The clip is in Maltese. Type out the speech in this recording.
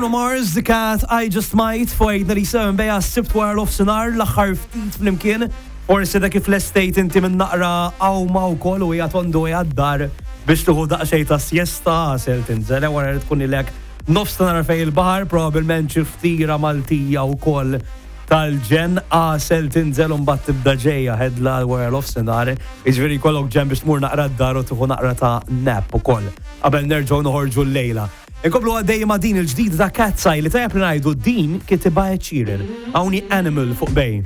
Bruno Mars, The Cat, I Just Might, fuq 897 beja s-Sibt wara nofsinhar, l-aħħar ftit flimkien. Forsi dak kif lestejt inti minn naqra għawma wkoll u hija tondu hija d-dar biex tieħu daqsxejn ta' siesta, għasel tinżel wara li tkun ilek nofs ta' nhar fejn il-baħar, probabbilment xi ftira Maltija wkoll tal-ġenn, għasel tinżel u mbagħad tibda ġejja ħedla wara nofsinhar, jiġifieri jkollok ġenn biex tmur naqra d-dar u tieħu naqra ta' nap ukoll qabel nerġgħu noħorġu llejla. Inkomplu għaddej ma' din il-ġdida ta' Katseye li tajjeb li ngħidu din kitibha Ed Sheeran. Hawn hi Animal fuq Bay.